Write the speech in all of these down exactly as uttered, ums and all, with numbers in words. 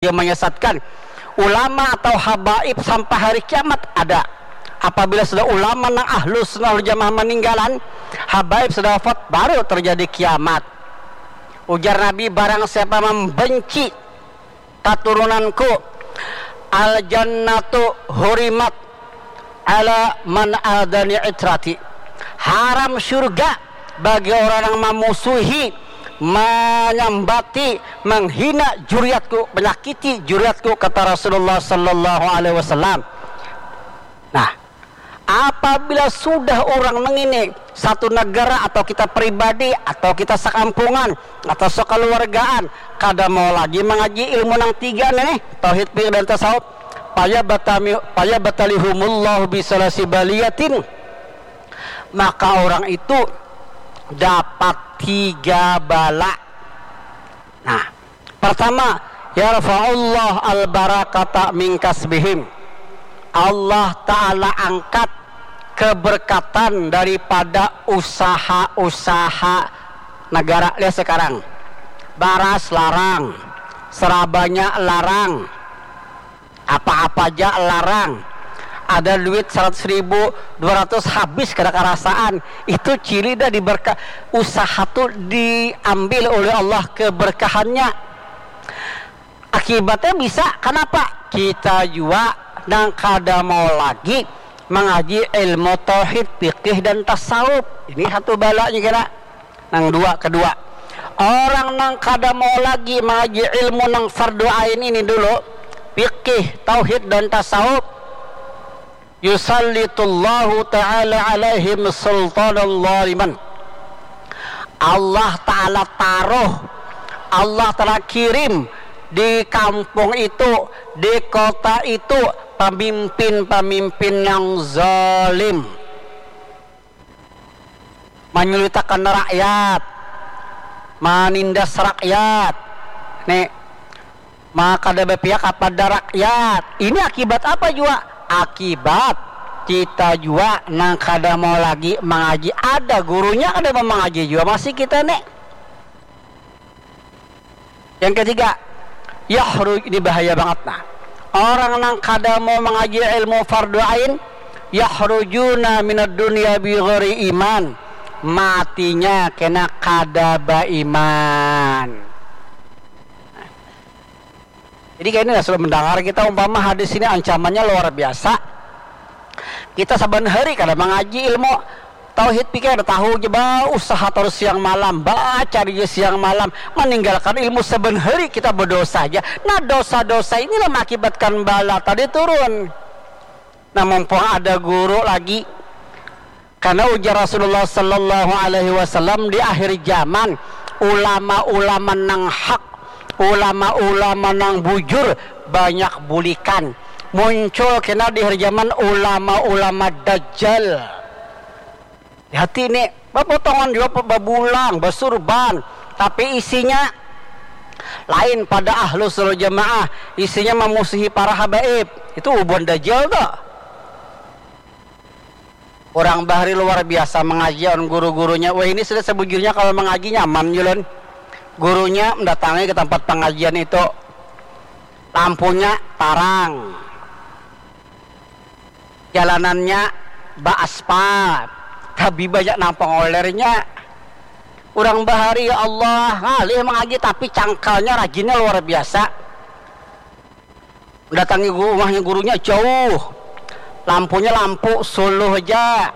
dia menyesatkan. Ulama atau habaib sampai hari kiamat ada. Apabila sudah ulama nang ahlu sunnah wal jamaah meninggalan, habaib sudah wafat, baru terjadi kiamat. Ujar Nabi, barang siapa membenci katurunanku, al jannatu hurimat ala man adani itrati. Haram surga bagi orang yang memusuhi, menyambati, menghina juriatku, menyakiti juriatku, kata Rasulullah sallallahu alaihi wasallam. Nah, apabila sudah orang nang ini satu negara atau kita pribadi atau kita sekampungan atau sekeluargaan kada mau lagi mengaji ilmu nang tiga nih, tauhid, fikih dan tasawuf, paya batami paya batalihumullahu bisalasi baliyatin, maka orang itu dapat tiga bala. Nah, pertama, yarfa'ullah al-barakata min kasbihim. Allah Ta'ala angkat keberkatan daripada usaha-usaha negara. Lihat sekarang, baras larang, serabanya larang, apa-apa aja larang. Ada duit seratus ribu, dua ratus habis kada karasaan. Itu ciri dah diberkah, usaha tu diambil oleh Allah keberkahannya. Akibatnya bisa, kenapa? Kita jua nang kada mau lagi mengaji ilmu tauhid, fikih dan tasawuf. Ini satu balanya kira. Nang dua, kedua, orang nang kada mau lagi mengaji ilmu nang fardu ain ini dulu, fikih, tauhid dan tasawuf, yusallitullahu ta'ala alaihim sultanan zaliman. Allah Ta'ala taruh, Allah Ta'ala kirim di kampung itu, di kota itu, pemimpin-pemimpin yang zalim, manyulitakan rakyat, manindas rakyat, nih, maka ada berpihak kepada rakyat. Ini akibat apa jua? Akibat kita jua nang kada mau lagi mengaji. Ada gurunya kada mau mengaji jua masih kita nih. Yang ketiga, yahru ini bahaya banget nah. Orang nang kada mau mengaji ilmu fardu ain, yahrujuna minad dunya bi ghairi iman. Matinya kena kada baiman. Jadi kayak ini lah, sudah mendengar kita umpama hadis ini ancamannya luar biasa. Kita saban hari kada mengaji ilmu tauhid, pikir ada tahu aja, ba usaha terus siang malam, baca aja siang malam, meninggalkan ilmu, saban hari kita berdosa aja. Nah, dosa-dosa inilah mengakibatkan bala tadi turun. Nah, mumpung ada guru lagi, karena ujar Rasulullah sallallahu alaihi wasallam, di akhir zaman ulama-ulama nang hak, ulama-ulama nang bujur banyak bulikan. Muncul kena di akhir zaman ulama-ulama dajjal. Hati ini bapotongan juga, babulang, basurban, tapi isinya lain pada ahlu sunnah jamaah. Isinya memusuhi para habaib. Itu ubuan dajjal tuh. Orang bahari luar biasa mengaji on guru-gurunya. Wah, ini sudah sebujurnya kalau mengaji nyaman, Julun. Gurunya mendatangi ke tempat pengajian itu. Lampunya tarang. Jalanannya baaspal. Tapi banyak nang pengolernya. Orang bahari, ya Allah, ngalih mengaji tapi cangkalnya rajinnya luar biasa. Datangi gu- rumahnya gurunya jauh, lampunya lampu suluh aja.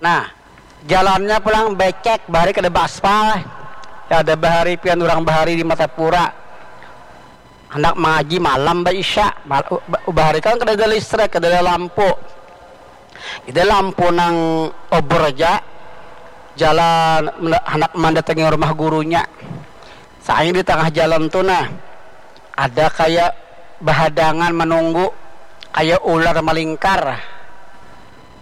Nah, jalannya pulang becek, bahari kada baaspal. Ya, ada bahari pian orang bahari di Martapura, hendak mengaji malam ba isya. Mal- ba- bahari kan kada ada listrik, kada ada lampu. Jadi lampu nang obor aja, jalan menda- hendak mendatangi rumah gurunya. Soalnya di tengah jalan tu nah, ada kayak bahadangan menunggu, kayak ular melingkar.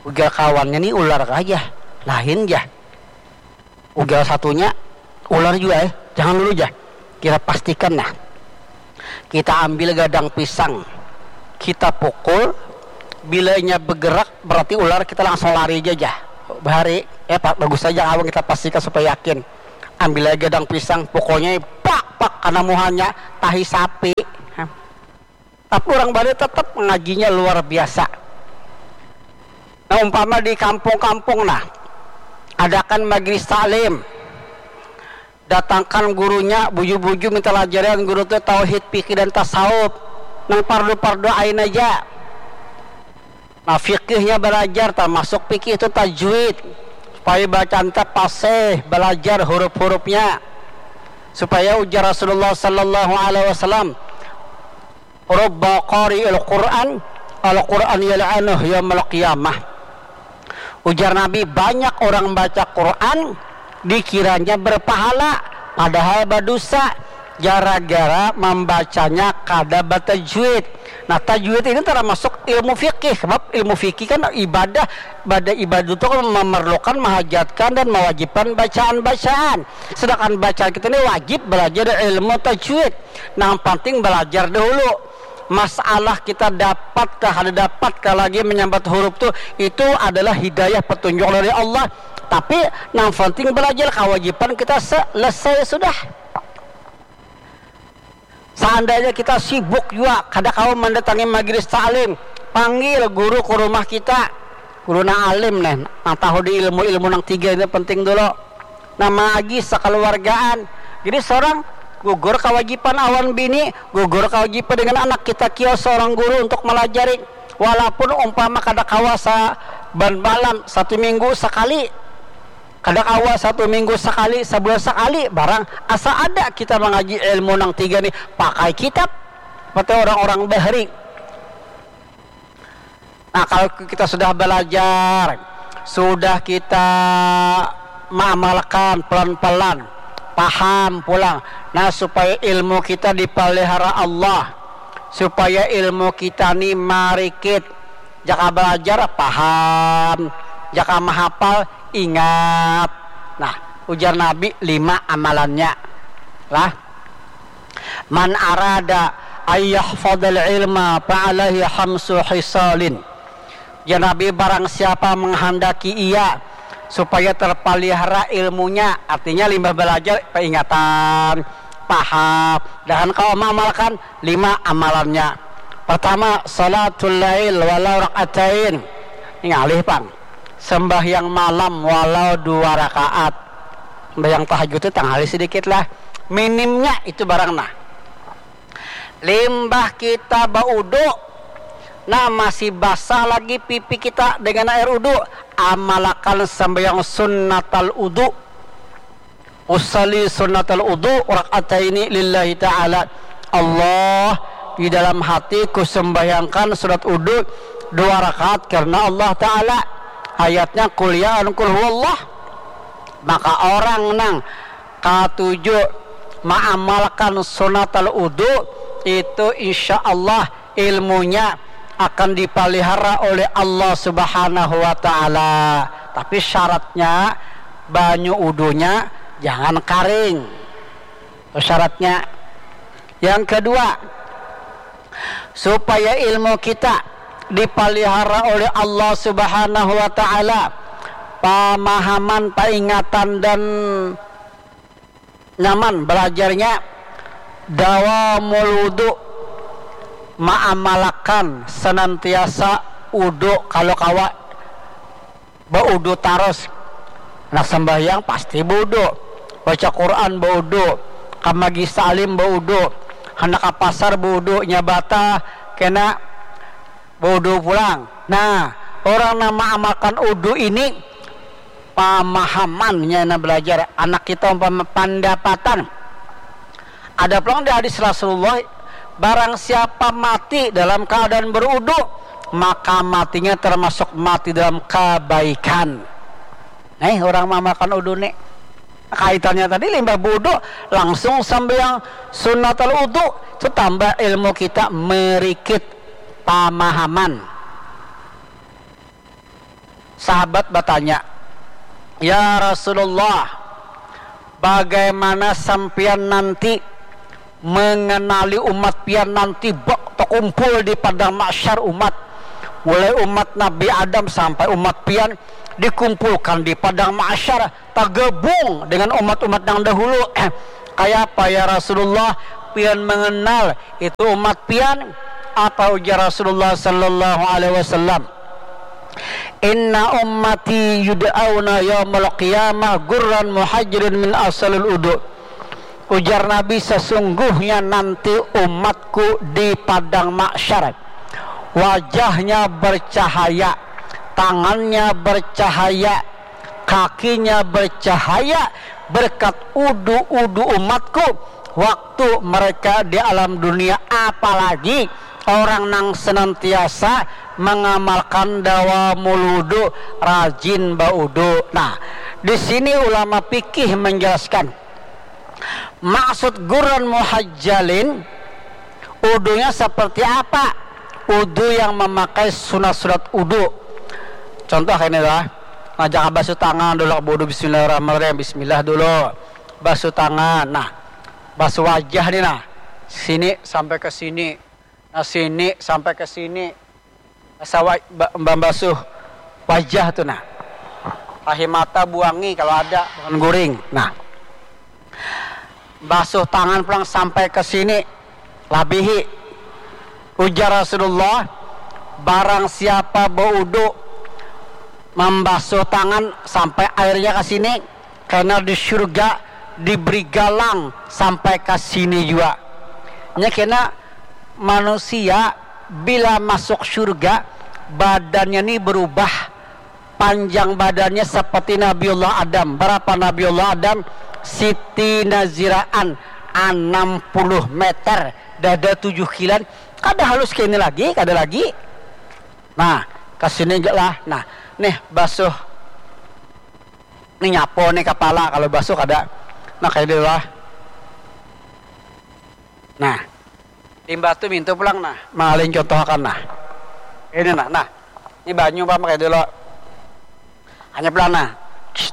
Ujar kawannya, ni ular kah aja, lain jah. Ujar satunya, ular juga eh, jangan dulu jah. Kita pastikan nah. Kita ambil gadang pisang, kita pukul, bila inya bergerak berarti ular, kita langsung lari aja jah. Bahari, eh pa- bagus saja kawan, kita pastikan supaya yakin. Ambil aja gadang pisang, pokoknya pak karena muhanya tahi sapi. Tapi orang Bali tetap mengajinya luar biasa. Nah, umpama di kampung-kampung, nah, adakan majelis taklim, datangkan gurunya, buju-buju minta lajarian guru tu tauhid, fikih dan tasawuf, nang pardu-pardu ain aja. Nah, fikihnya belajar, termasuk fikih itu tajwid, supaya bacaan teh pasih, belajar huruf-hurufnya, supaya ujar Rasulullah sallallahu alaihi wasallam, "Rubba qari'il Qur'an, al Qur'an yal'anuh yaumal qiyamah." Ujar Nabi, banyak orang baca Quran dikiranya berpahala, padahal berdosa gara-gara membacanya kada batajwid. Nah, tajwid ini termasuk ilmu fikih, sebab ilmu fikih kan ibadah, pada ibadah itu kan memerlukan, menghajatkan dan mewajibkan bacaan-bacaan. Sedangkan bacaan kita ini wajib belajar ilmu tajwid. Nang penting belajar dahulu. Masalah kita dapat kah, ada dapat kah lagi menyambat huruf tu, itu adalah hidayah, petunjuk dari Allah. Tapi nang penting belajar, kewajiban kita selesai sudah. Seandainya kita sibuk juga, kada kawa mendatangi majelis taklim, panggil guru ke rumah kita. Guru nang alim nih, nang tahu di ilmu-ilmu nang tiga ini penting dulu. Nah, mengaji sekeluargaan. Jadi seorang gugur kewajiban awan bini, gugur kewajiban dengan anak, kita kio seorang guru untuk melajari. Walaupun umpama kada kawa saban malam, satu minggu sekali, kada kawa satu minggu sekali, sebulan sekali, barang asa ada kita mengaji ilmu nang tiga nih, pakai kitab seperti orang-orang bahri. Nah, kalau kita sudah belajar, sudah kita mengamalkan pelan-pelan, paham pulang. Nah, supaya ilmu kita dipelihara Allah, supaya ilmu kita ni marikit. Jaka belajar, paham. Jaka mahapal, ingat. Nah, ujar Nabi, lima amalannya. Lah, "Man arada ayyahfadal ilma fa'alaihi hamsu hisalin." Ya Nabi, barang siapa menghendaki ia supaya terpelihara ilmunya, artinya limbah belajar, peringatan, paham, dan kau mengamalkan lima amalannya. Pertama, salatul lail walau rakaatain. Ini ngalih pang. Sembahyang malam walau dua rakaat. Sembahyang tahajud itu tangali sedikit lah. Minimnya itu barang nah. Limbah kita baudu, nah, masih basah lagi pipi kita dengan air udu, amalakan sembahyang sunnatal udu. Usalli sunnatal udu rakaataini lillahi ta'ala. Allah, di dalam hatiku sembahyangkan sunat udu dua rakaat karena Allah Ta'ala. Ayatnya, "Qul ya an qul huwallah." Maka orang nang katuju maamalkan sunatal udu, itu insya Allah ilmunya akan dipelihara oleh Allah Subhanahu wa Ta'ala. Tapi syaratnya, banyu udunya jangan karing. Itu syaratnya. Yang kedua, supaya ilmu kita dipelihara oleh Allah Subhanahu wa Ta'ala, pemahaman, peringatan, dan nyaman belajarnya, dawamul wudu, maamalakan senantiasa wudu kalau kawa, baudu tarus. Handak sambahyang pasti baudu, baca Quran baudu, ka majlis taklim baudu, handak ka pasar baudu, nyabata kena baudu pulang. Nah, orang nang maamalkan udu ini pamahamannya, nah, belajar. Anak kita umpama pandapatan. Ada pulang di hadis Rasulullah, barang siapa mati dalam keadaan berudu, maka matinya termasuk mati dalam kebaikan. Nih, orang maamalkan udu nih. Kaitannya tadi limbah budu langsung sambil yang sunnatul udu, itu tambah ilmu kita merikit pamahaman. Sahabat batanya, "Ya Rasulullah, bagaimana sampian nanti mengenali umat pian nanti bak takumpul di padang mahsyar umat, mulai umat Nabi Adam sampai umat pian dikumpulkan di padang mahsyar, tagabung dengan umat-umat yang dahulu." Kaya apa ya Rasulullah, pian mengenal itu umat pian? Apa ujar Rasulullah sallallahu alaihi wasallam? Inna ummati yud'auna yaumal qiyamah gurran muhajjalin min asalil udu. Ujar Nabi, sesungguhnya nanti umatku di padang mahsyar, wajahnya bercahaya, tangannya bercahaya, kakinya bercahaya berkat udu-udu umatku waktu mereka di alam dunia, apalagi orang nang senantiasa mengamalkan dawamul wudu, rajin baudu. Nah, di sini ulama fikih menjelaskan maksud gurran muhajjalin, udunya seperti apa? Udu yang memakai sunat-sunat udu. Contoh ini lah, ngajak basuh tangan dulu, baudu bismillahirrahmanirrahim, bismillah dulu, basuh tangan, nah, basuh wajah nih, nah, sini sampai ke sini, nah, sini sampai ke sini, basuh wa- ba- membasuh wajah tuh, nah, tahi mata buangi kalau ada, bukan guring, nah, basuh tangan pulang sampai ke sini, labihi. Ujar Rasulullah, barang siapa baudu, membasuh tangan sampai airnya ke sini, karena di surga diberi galang sampai ke sini juga. Nya kena manusia bila masuk surga, badannya ni berubah. Panjang badannya seperti Nabiullah Adam. Berapa Nabiullah Adam? Siti Naziraan, enam puluh meter, dada tujuh kilan. Kada halus kayak ini lagi, kada lagi. Nah, ke sini enggak lah. Nah, nih basuh. Nih nyapo nih kepala, kalau basuh kada. Nah, kayak ini lah. Nah, limbah tu mintu pulang, nah. Malin contohakan, nah. Ini, nah, nah. Ini banyu, Pak, pakai dulu. Hanya pulang, nah.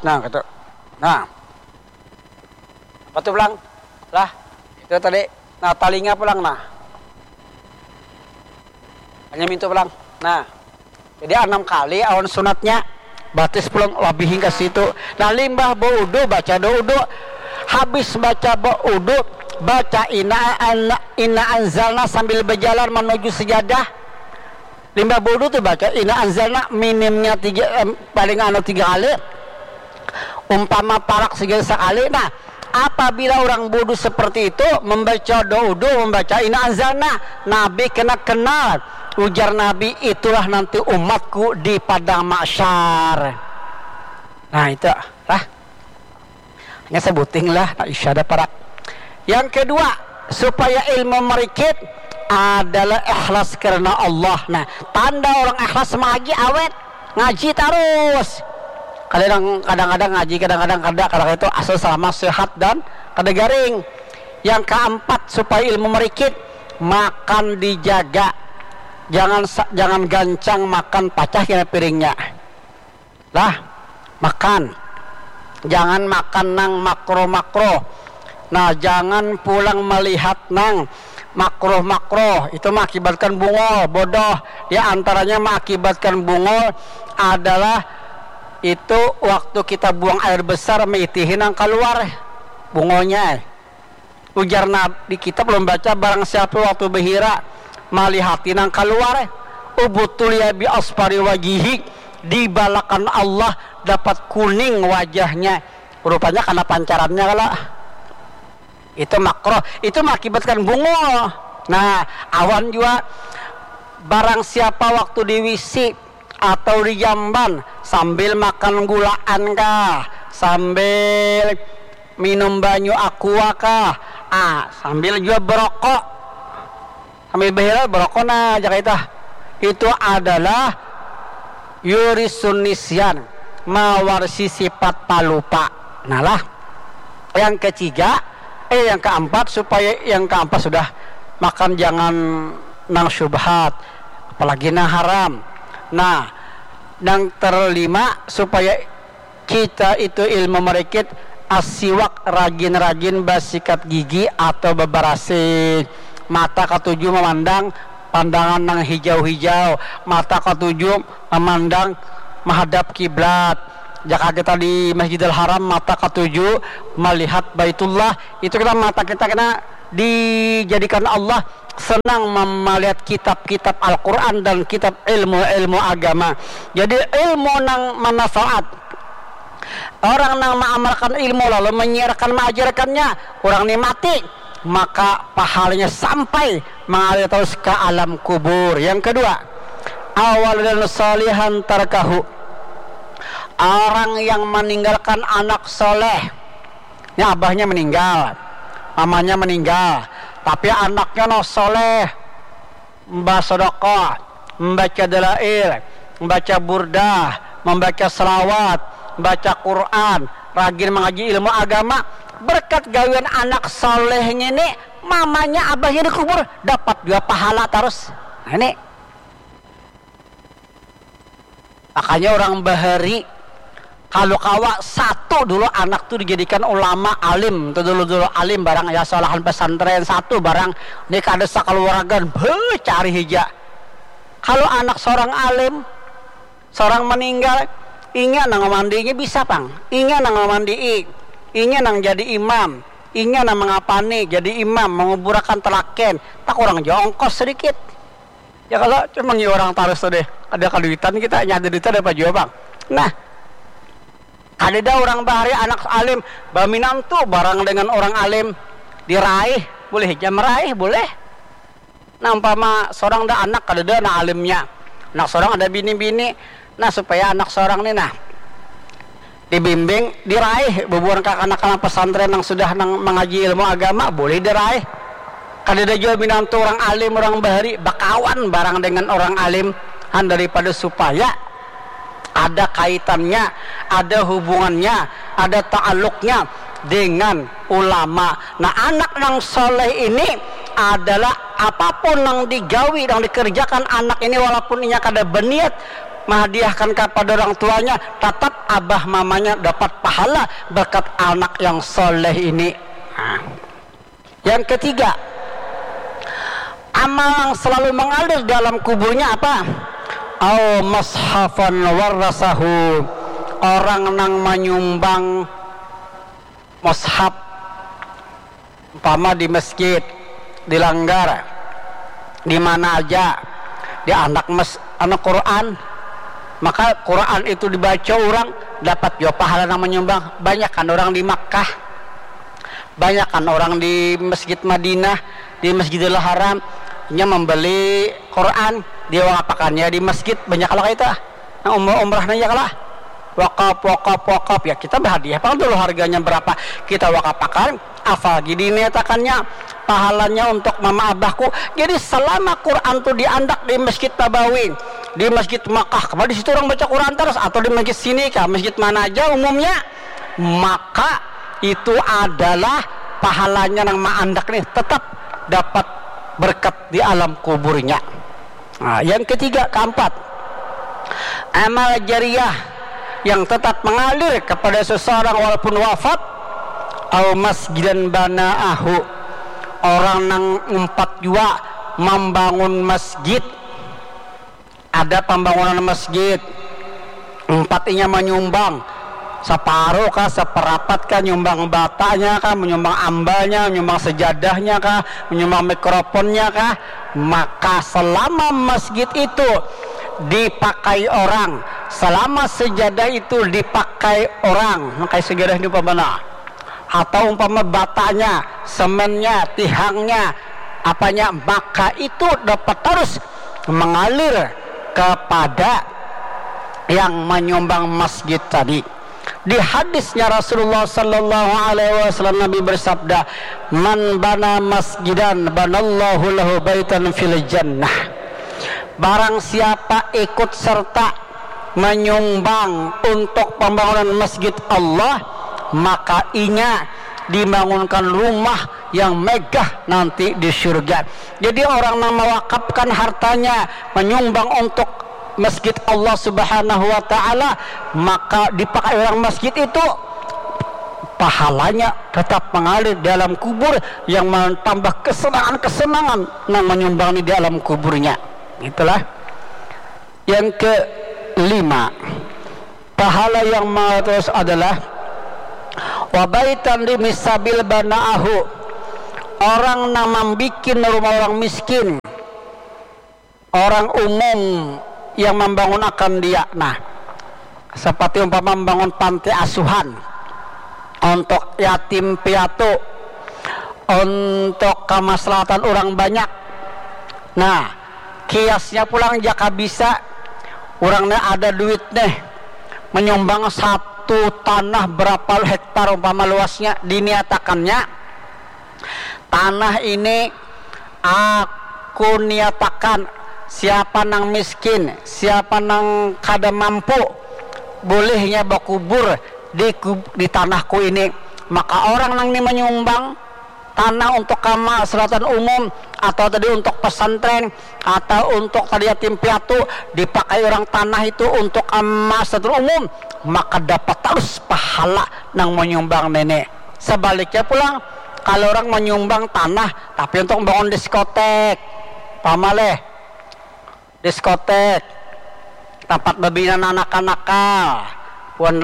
Nah, gitu. Nah. Apa tu pulang? Lah, itu tadi. Nah, talinga pulang, nah. Hanya mintu pulang. Nah. Jadi, enam kali awan sunatnya. Batis pulang lebih hingga situ. Nah, limbah baudu, baca doa udu. Habis baca baudu, baca inna, inna, inna anzalna sambil berjalan menuju sejadah. Limbah baudu tu baca inna anzalna minimnya tiga, em, paling anu tiga kali. Umpama parak saja sekali. Nah, apabila orang baudu seperti itu, membaca doa udu, membaca inna anzalna, Nabi kena kenal. Ujar Nabi, itulah nanti umatku di padang mahsyar. Nah, itu lah. Hanya sebuting lah, nah, isya ada parak. Yang kedua, supaya ilmu merikit adalah ikhlas karena Allah. Nah, tanda orang ikhlas mengaji awet, ngaji terus. Kadang-kadang ngaji, kadang-kadang kada, kadang itu asal selama sehat dan kada garing. Yang keempat, supaya ilmu merikit, makan dijaga. Jangan sa- jangan gancang makan, pacah kena piringnya. Lah, makan. Jangan makan nang makro-makro. Nah, jangan pulang melihat nang makro-makro. Itu mengakibatkan bungol, bodoh. Ya, antaranya mengakibatkan bungol adalah itu waktu kita buang air besar, meitihi nang keluar bungolnya. Ujar Nabi, di kitab ulun baca, barang siapa waktu bahira malihati nang kaluar, ubtuliya bi asfari wajihi, dibalakan Allah dapat kuning wajahnya. Rupanya kana pancarannya kalo. Itu makruh, itu mengakibatkan bungul. Nah, awan jua barang siapa waktu di W C atau di jamban sambil makan gulaan kah, sambil minum banyu aqua kah, ah, sambil jua berokok, sambil behilal berokok, nah, jaka itu, itu adalah yurisun nisyan, mawarisi sifat palupa. Nah lah, yang ketiga, eh, yang keempat, supaya yang keempat sudah, makan jangan nang syubhat, apalagi nang haram. Nah, nang terlima, supaya kita itu ilmu merikit, asiwak, rajin-rajin basikat gigi atau beberasi. Mata katuju memandang pandangan nang hijau-hijau, mata katuju memandang menghadap kiblat, Jaka kita di Masjidil Haram, mata katuju malihat Baitullah, itu kita, mata kita kena dijadikan Allah senang mem- melihat kitab-kitab Al-Quran dan kitab ilmu-ilmu agama. Jadi ilmu nang manfaat, orang nang maamalkan ilmu lalu menyiarkan, mengajarkannya, orang ni mati, maka pahalanya sampai mengalir terus ke alam kubur. Yang kedua, awal dan salihan tarkahu, orang yang meninggalkan anak soleh. Ini abahnya meninggal, mamanya meninggal, tapi anaknya no soleh, membaca sodokoh, membaca dalail, membaca burdah, membaca selawat, membaca Quran, rajin mengaji ilmu agama. Berkat gawian anak soleh ini, mamanya, abahnya dikubur, dapat dua pahala terus. Nah, ini makanya orang bahari, kalau kawa satu dulu anak tu dijadikan ulama alim tu, dulu-dulu alim barang, ya, solahan pesantren satu barang, ni kada sakaluargan becari hija. Kalau anak seorang alim, seorang meninggal, inya nang memandiinya bisa pang, inya nang memandii, inya nang jadi imam, inya nang mengapani jadi imam, menguburakan telaken, tak kurang jua ongkos sedikit. Ya kalau cuma ngi orang tarus tu deh, ada kaduitan kita, nyada duit ada apa jua pang. Nah, kadada orang bahari anak alim baminantu barang dengan orang alim, diraih, boleh aja meraih, boleh. Nah, umpama seorang dah anak kadada anak alimnya, anak seorang ada bini-bini, nah, supaya anak seorang ni, nah, dibimbing, diraih bubuhan kakanakan pesantren yang sudah nang mengaji ilmu agama, boleh diraih. Kadada jua minantu orang alim, orang bahari bakawan barang dengan orang alim, han, daripada supaya ada kaitannya, ada hubungannya, ada taaluknya dengan ulama. Nah, anak nang soleh ini adalah apapun nang digawi, nang dikerjakan anak ini, walaupun inya kada berniat menghadiahkan kepada orang tuanya, tetap abah mamanya dapat pahala berkat anak yang soleh ini. Nah, yang ketiga, amal yang selalu mengalir dalam kuburnya apa? Au mashafan warasahu, orang nang menyumbang mushaf, umpama di masjid, di langgar, di mana aja, di anak mes anu Quran, maka Quran itu dibaca orang, dapat jua pahala nang menyumbang. Banyakan orang di Makkah, banyakan orang di Masjid Madinah, di Masjidil Haram, nya membeli Quran, dia wakapakannya di masjid, banyak lah itu. Nah, umrah, umrah nanya kalah. Wakaf, wakaf, wakaf. Ya, kita berhadiah pang dulu harganya berapa. Kita wakapakan, afal gini niatakannya, pahalanya untuk mama abahku. Jadi selama Quran tu diandak di Masjid Nabawi, di Masjid Makkah, kemana di situ orang baca Quran terus, atau di masjid sini kah, masjid mana aja umumnya, maka itu adalah pahalanya nang maandak nih, tetap dapat berkat di alam kuburnya. Nah, yang ketiga, keempat, amal jariah yang tetap mengalir kepada seseorang walaupun wafat, au masjidan banaahu, orang nang umpat jua membangun masjid, ada pembangunan masjid, umpat inya menyumbang separuh kah, seperapat kah, nyumbang batanya kah, menyumbang ambalnya, menyumbang sejadahnya kah, menyumbang mikrofonnya kah, maka selama masjid itu dipakai orang, selama sejadah itu dipakai orang, pakai sejadah ini umpama, nah, atau umpama batanya, semennya, tihangnya, apanya, maka itu dapat terus mengalir kepada yang menyumbang masjid tadi. Di hadisnya Rasulullah sallallahu alaihi wasallam, Nabi bersabda, "Man bana masjidan banallahu lahu baitan fil jannah." Barang siapa ikut serta menyumbang untuk pembangunan masjid Allah, maka inya dibangunkan rumah yang megah nanti di surga. Jadi orang yang mewakafkan hartanya menyumbang untuk masjid Allah Subhanahu wa taala, maka dipakai orang masjid itu, pahalanya tetap mengalir dalam kubur yang menambah kesenangan-kesenangan nang menyumbang di dalam kuburnya. Itulah. Yang kelima, Pahala yang maha terus adalah wabaitan di misabil banaahu, orang nang mambikin rumah orang miskin, orang umum yang membangun akan dia. Nah, seperti umpama membangun panti asuhan untuk yatim piatu, untuk kemaslahatan orang banyak. Nah, kiasnya pulang jaka bisa, orangnya ada duit nih, menyumbang satu tanah berapa hektar umpama luasnya, diniatakannya tanah ini aku niatakan, siapa nang miskin, siapa nang kada mampu, bolehnya bakubur di, di tanahku ini. Maka orang nang ini menyumbang tanah untuk kamaslahatan umum atau tadi untuk pesantren atau untuk tadi yatim piatu, dipakai orang tanah itu untuk kamaslahatan umum, maka dapat terus pahala nang menyumbang nenek. Sebaliknya pulang, kalau orang menyumbang tanah tapi untuk membangun diskotek, pamaleh, diskotek, tempat bebina anak-anak nakal, buhan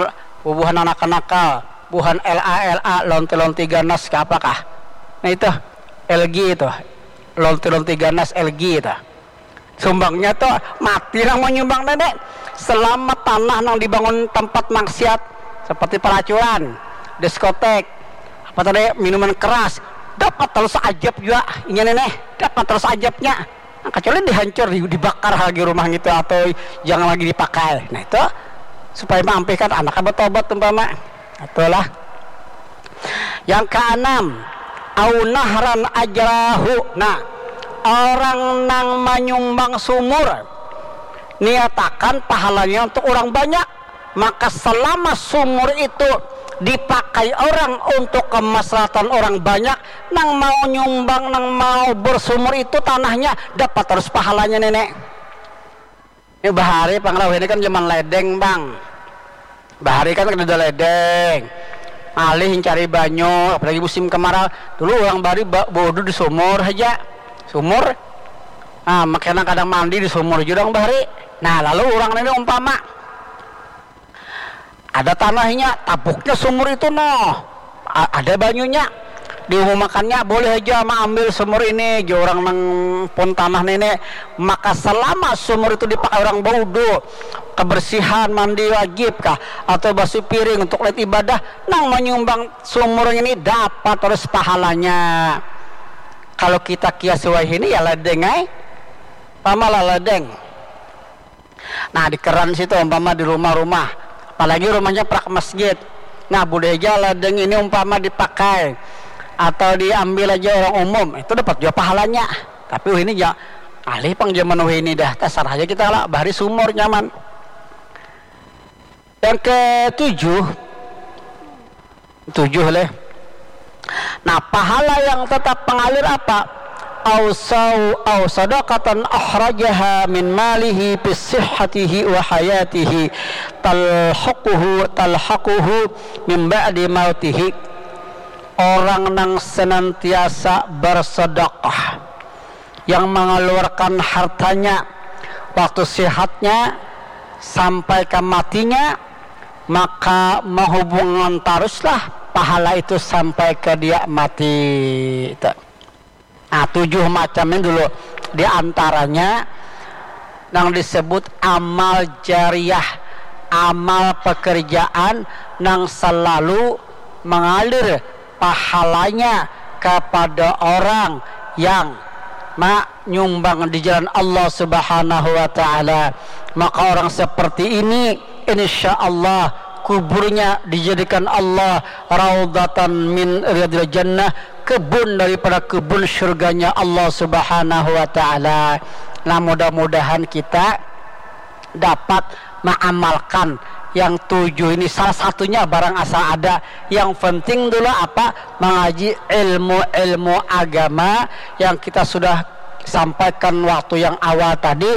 bubuhan anak-anak nakal, buhan L A L A, lonti-lonti ganas ke apakah? Nah itu L G itu, lonti-lonti ganas L G itu. Sumbangnya tuh mati nang menyumbang nenek. Selamat tanah nang dibangun tempat maksiat seperti pelacuran, diskotek, apa tadi, minuman keras, dapat terus ajab juga inya nenek, dapat terus ajabnya. Nah, kecuali dihancur, di- dibakar lagi rumah gitu atau jangan lagi dipakai. Nah itu supaya maampihkan anaknya bertobat umpama. Itulah. Yang keenam, au nahran ajrahu. Nah, orang nang menyumbang sumur, niatakan pahalanya untuk orang banyak, maka selama sumur itu dipakai orang untuk kemaslahatan orang banyak, nang mau nyumbang, nang mau bersumur itu tanahnya dapat terus pahalanya nenek. Ini bahari pangrauh ini kan zaman ledeng bang. Bahari kan kada ada ledeng, ngalih cari banyu, apalagi musim kemarau. Dulu orang bahari ba- baudu di sumur saja, sumur. Nah, makanya kadang mandi di sumur juga orang bahari. Nah, lalu orang ini umpama ada tanahnya, tabuknya sumur itu noh, ada banyunya, diumumakannya boleh aja maambil sumur ini, jar orang nang pun tanah nenek. Maka selama sumur itu dipakai orang baudu, kebersihan, mandi wajib kah, atau basuh piring untuk lain ibadah, nang menyumbang sumur ini dapat terus pahalanya. Kalau kita kias wahini ya ledeng ai, pamalah ledeng. Nah, di keran situ umpama di rumah-rumah, apalagi rumahnya prak masjid. Nah, boleh aja ladang ini umpama dipakai atau diambil aja orang umum, itu dapat juga pahalanya. Tapi ini ya alih pang zaman ini dah, tasarah aja kita lah, bahari sumur nyaman. Yang ketujuh, tujuh leh. Nah, pahala yang tetap mengalir apa? Au sau au sadaqatan akhrajaha min malihi fi sihhatihi wa hayatihi talhaquhu talhaquhu min ba'di mautihi. Orang nang senantiasa bersedekah, yang mengeluarkan hartanya waktu sehatnya sampai ke matinya, maka menghubungan taruslah pahala itu sampai ke dia mati. Nah, tujuh macam ini dulu. Di antaranya yang disebut amal jariah, amal pekerjaan yang selalu mengalir pahalanya kepada orang yang menyumbang di jalan Allah Subhanahu wa taala. Maka orang seperti ini, insya Allah kuburnya dijadikan Allah raudatan min riyadil jannah, kebun daripada kebun surganya Allah Subhanahu wa taala. Nah, mudah-mudahan kita dapat mengamalkan yang tujuh ini, salah satunya barang asal ada. Yang penting dulu apa? Mengaji ilmu-ilmu agama yang kita sudah sampaikan waktu yang awal tadi,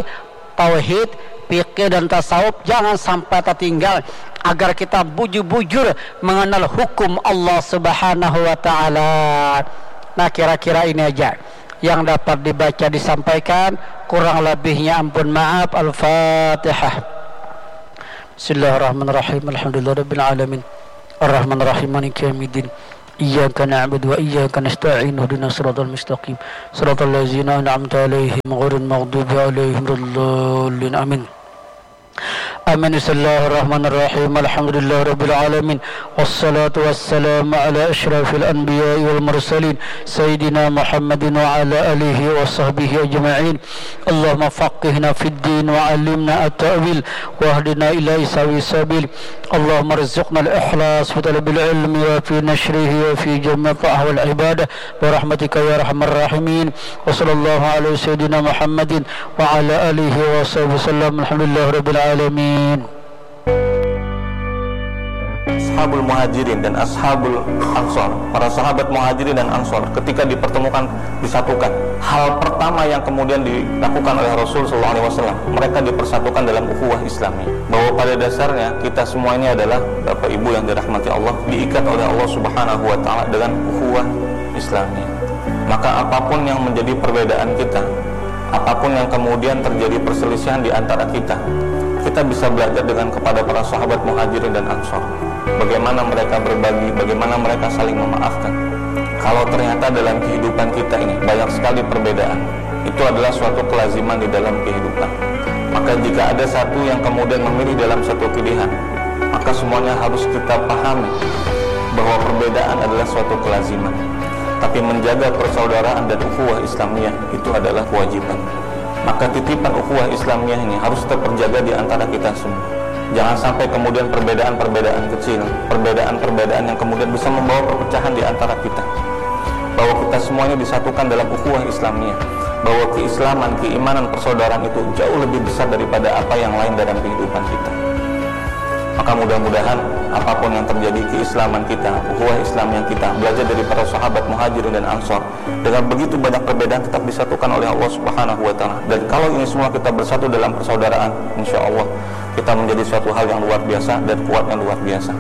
tauhid, fikih dan tasawuf jangan sampai tertinggal, agar kita bujur-bujur mengenal hukum Allah Subhanahu wa taala. Nah, kira-kira ini aja yang dapat dibaca disampaikan, kurang lebihnya ampun maaf. Al-Fatihah. Bismillahirrahmanirrahim. Alhamdulillahirabbil alamin. Arrahmanirrahim. Maliki yaumiddin. Iyyaka na'budu wa iyyaka nasta'in. Ihdinas siratal mustaqim. Siratal ladzina an'amta 'alaihim ghairil maghdubi 'alaihim waladdallin. Amin. Amin. Bismillahirrahmanirrahim. Alhamdulillahirabbil alamin. Wassalatu wassalamu ala asyrafil anbiya'i wal mursalin, sayyidina Muhammadin wa ala alihi wa sahbihi ajma'in. Allahumma faqihna fid din wa alimna at-ta'wil wa ahdina ila sawi sabil. Allahumma rizqna al-ikhlas fi talabil ilmi wa fi nashrihi wa fi jami'i ta'ah wal ibadah bi rahmatika ya arhamar rahimin. Wa sallallahu ala sayyidina Muhammadin wa ala alihi wa sahbihi wasallam. Alhamdulillah rabbil alamin. Ashabul Muhajirin dan Ashabul Ansor, para sahabat Muhajirin dan Ansor, ketika dipertemukan, disatukan, hal pertama yang kemudian dilakukan oleh Rasul sallallahu alaihi wasallam, mereka dipersatukan dalam ukhuwah Islamiyah. Bahwa pada dasarnya kita semua ini adalah, Bapak Ibu yang dirahmati Allah, diikat oleh Allah Subhanahu wa taala dengan ukhuwah Islamiyah. Maka apapun yang menjadi perbedaan kita, apapun yang kemudian terjadi perselisihan di antara kita, kita bisa belajar dengan kepada para sahabat Muhajirin dan Ansor. Bagaimana mereka berbagi, bagaimana mereka saling memaafkan. Kalau ternyata dalam kehidupan kita ini banyak sekali perbedaan, itu adalah suatu kelaziman di dalam kehidupan. Maka jika ada satu yang kemudian memilih dalam satu pilihan, maka semuanya harus kita pahami bahwa perbedaan adalah suatu kelaziman. Tapi menjaga persaudaraan dan ukhuwah Islamiyah itu adalah kewajiban. Maka titipan ukhuwah Islamiyah ini harus terjaga di antara kita semua. Jangan sampai kemudian perbedaan-perbedaan kecil, perbedaan-perbedaan yang kemudian bisa membawa perpecahan di antara kita. Bahwa kita semuanya disatukan dalam ukhuwah Islamiyah. Bahwa keislaman, keimanan, persaudaraan itu jauh lebih besar daripada apa yang lain dalam kehidupan kita. Maka mudah-mudahan apapun yang terjadi, keislaman kita, ukhuwah Islamiyah kita, belajar dari para sahabat Muhajirin dan Ansor, dengan begitu banyak perbedaan tetap disatukan oleh Allah Subhanahu wa taala. Dan kalau ini semua kita bersatu dalam persaudaraan, insya Allah kita menjadi suatu hal yang luar biasa dan kuat yang luar biasa.